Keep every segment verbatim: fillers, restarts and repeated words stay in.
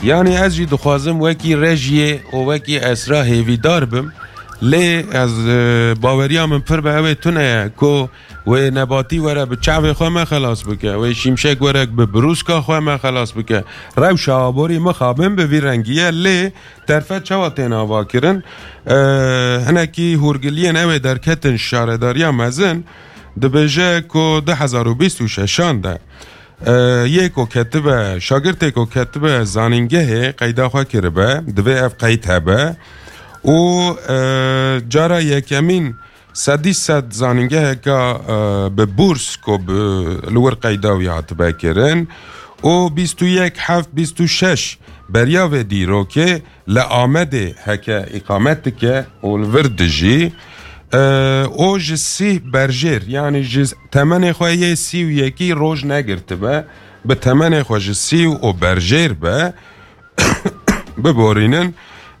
Yanî ez jî dixwazim wekî Rejiyê û wekî Esra hêvîdar bim. Lê ez, e, baweriya min pir bi ew ê tune ye ku wê Nebatî were bi çavê xwe me xelas bike, wê Şimşek were bi birûska xwe me xelas bike. Rewşa aborî mixabin bi vî rengî ye, lê derfet çawa tên avakirin? E, hinekî hûrgiliyên ew ê derketin şaredariya mezin dibêje ku du hezar û bîst û şeşan de, e, yê ku ketibe, şagirtê ku ketibe zanîngehê qeyda xwe kiribe, divê ev qeyd hebe û, e, cara yekemîn sedî sed zanîngeheka, e, bi bûrs ku bi li wir qeyda wî hatibe kirin û bîst û yek heft bîst û şeş beriya vê dîrokê li Amedê heke îqamet dike û li vir dijî, e, û ji sî berjêr, yanî ji temenê xwe yê sî û yekî roj negirtibe, bi temenê xwe ji sî û berjêr be, biborînin.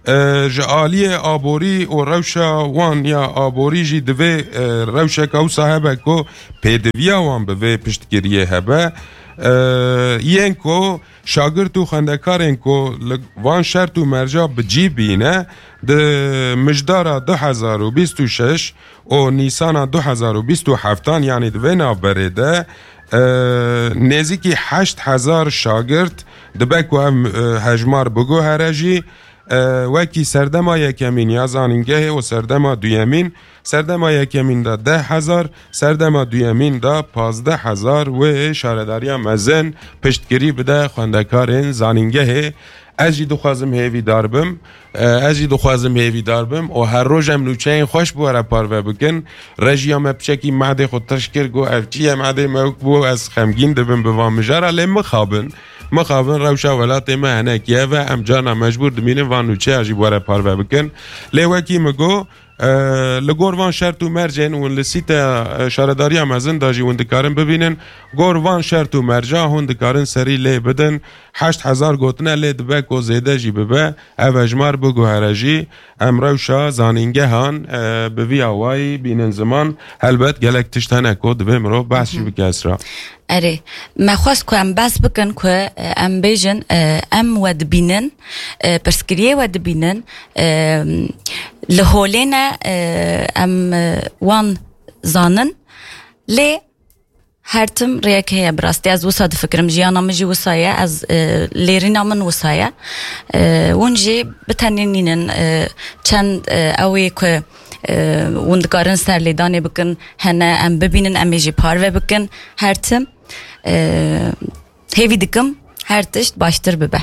E, ji aliyê aborî û rewşa wan ya aborî jî divê, e, rewşeke wisa hebe ku pêdiviya wan bi vê piştgiriyê hebe. E, yên ku şagirt û xwendekarên ku li van şert û merca bi cî bîne, di mijdara du hezar û bîst û şeş û Nîsana du hezar û bîst û heftan, yanî di vê navberê de, e, nêzîkî heşt hezar şagirt dibe ku ev, e, hejmar biguhere jî, e, wekî serdema yekemîn ya zanîngehê û serdema duyemîn, serdema yekemîn de deh hezar, serdema duyemîn de pazdeh hezar wê şaredariya mezin piştgirî bide xwendekarên zanîngehê. Ez jî dixwazim hêvîdar bim. E, ez jî dixwazim hêvîdar bim û her roj em nûçeyên xweş bi we re parve bikin. Rejiya me piçekî madê xwe tirş kir, got, "Ev çi ye madê me?" Wek bû, ez xemgîn dibim bi van mijara, lê mixabin. Mixabin, rewşa welatê me hinekî ev e, em carna mecbûr dimînin van nûçeya jî bi we re parve bikin. Lê wekî min got, e, li gor van şert û mercên hûn li sîte, e, şaredariya mezin de jî hûn dikarin bibînin. Gor van şert û merca hûn dikarin serî lê bidin. Heşt hezar gotine, lê dibe ku zêde jî bibe. Ev hejmar biguhere jî. Em rewşa zanîngehan, e, bi vî awayî bînin ziman. Helbet gelek tişt hene ku divê mirov behs jî bike, Esra. Erê, me xwest ku em behs bikin ku, e, em bêjin, e, em we dibînin, e, pirsgiriyê we dibînin, e, li holê ne, e, em, e, wan zanin, lê her tim rêyek heye, bi rastî ez wisa difikirim, jiyana min jî wisa ye, ez, e, lêrîna min wisa ye. E, hûn jî bi tenê nînin, e, çend, e, ew ê ku, e, hûn dikarin serlêdanê bikin, hene em bibînin, em ê jî parve bikin, her tim. E, hêvî dikim her tişt baştir bibe.